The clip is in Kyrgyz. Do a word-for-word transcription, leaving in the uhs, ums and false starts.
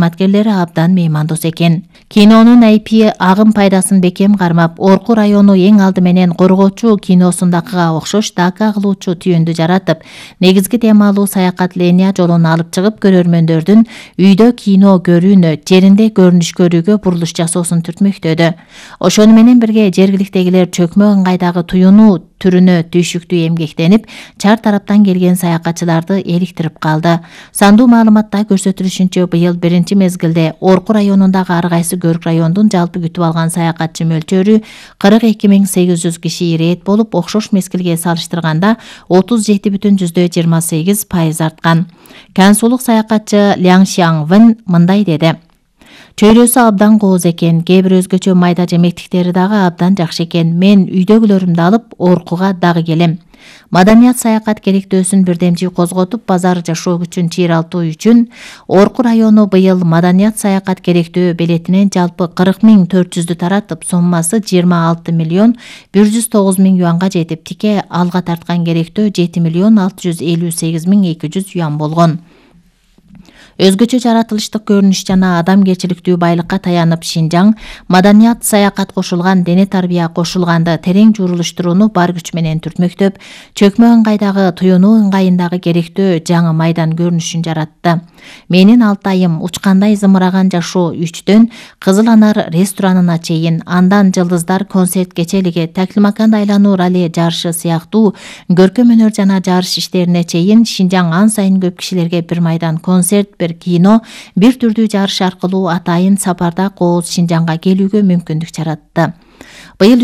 кызматкерлери абдан меймандос экен. Кинонун айпи агым пайдасын бекем кармап, Орку району эң алды менен Коргоочу киносундакыга окшош дака кылуучу түйүндү жаратып, негизги темалуу саякат линия жолун алып чыгып, көрөрмөндөрдүн үйдө кино көрүүнү, жеринде көрүнүш көрүүгө бурулуш жасоосун түртмөктөдү. Ошону менен бирге жергиликтегилер чөкмө ыңгайдагы туюнуу түрүнө түйшүктүү эмгектенип, чар тараптан келген саякатчыларды эликтирип калды. Сандуу маалыматта көрсөтүлүшүнчө, быйыл биринчи мезгилде Орку районундагы ар кайсы көрк райондун жалпы күтүп алган саякатчы мөлчөрү кырк эки миң сегиз жүз киши ирээт болуп, окшош мезгилге салыштырганда отуз жети бүтүн жүздөй жыйырма сегиз пайыз арткан. Кансулук саякатчы Ляң Шиаңвын мындай деди: Чөйрөсү абдан кооз экен, кээ бир өзгөчө майда жемектиктери дагы абдан жакшы экен. Мен үйдөгүлөрүмдү алып Оркуга дагы келем. Маданият саякат керектөөсүн бирдемчи козготуп, базар жашоо күчүн чыйралтуу үчүн Орку району быйыл маданият саякат керектөө белетинен жалпы кырк миң төрт жүздү таратып, соммасы жыйырма алты миллион бир жүз тогуз миң юанга жетип, тике алга тарткан керектөө жети миллион алты жүз элүү сегиз миң эки жүз юан болгон. Өзгөчө жаратылыштык көрүнүш жана адамгерчиликтүү байлыкка таянып, Шинжаң маданият саякат кошулган дене тарбия кошулганды терең журулуштурууну бар күч менен түртмөктөп, чөкмө ыңгайдагы туюнуу ыңгайындагы керектөө жаңы майдан көрүнүшүн жаратты. Менин Алтайым учкандай зымыраган жашоо үчтөн Кызыл Анар ресторанына чейин, андан Жылдыздар концерт кечелиги, Таклимакан айлануу ралли жарышы сыяктуу көркөм өнөр жана жарыш иштерине чейин Шинжаң ан сайын көп кишилерге бир майдан концерт, бир кино, бир түрдүү жарыш аркылуу атайын сапарда кооз Шинжаңга келүүгө мүмкүндүк жаратты. Быйыл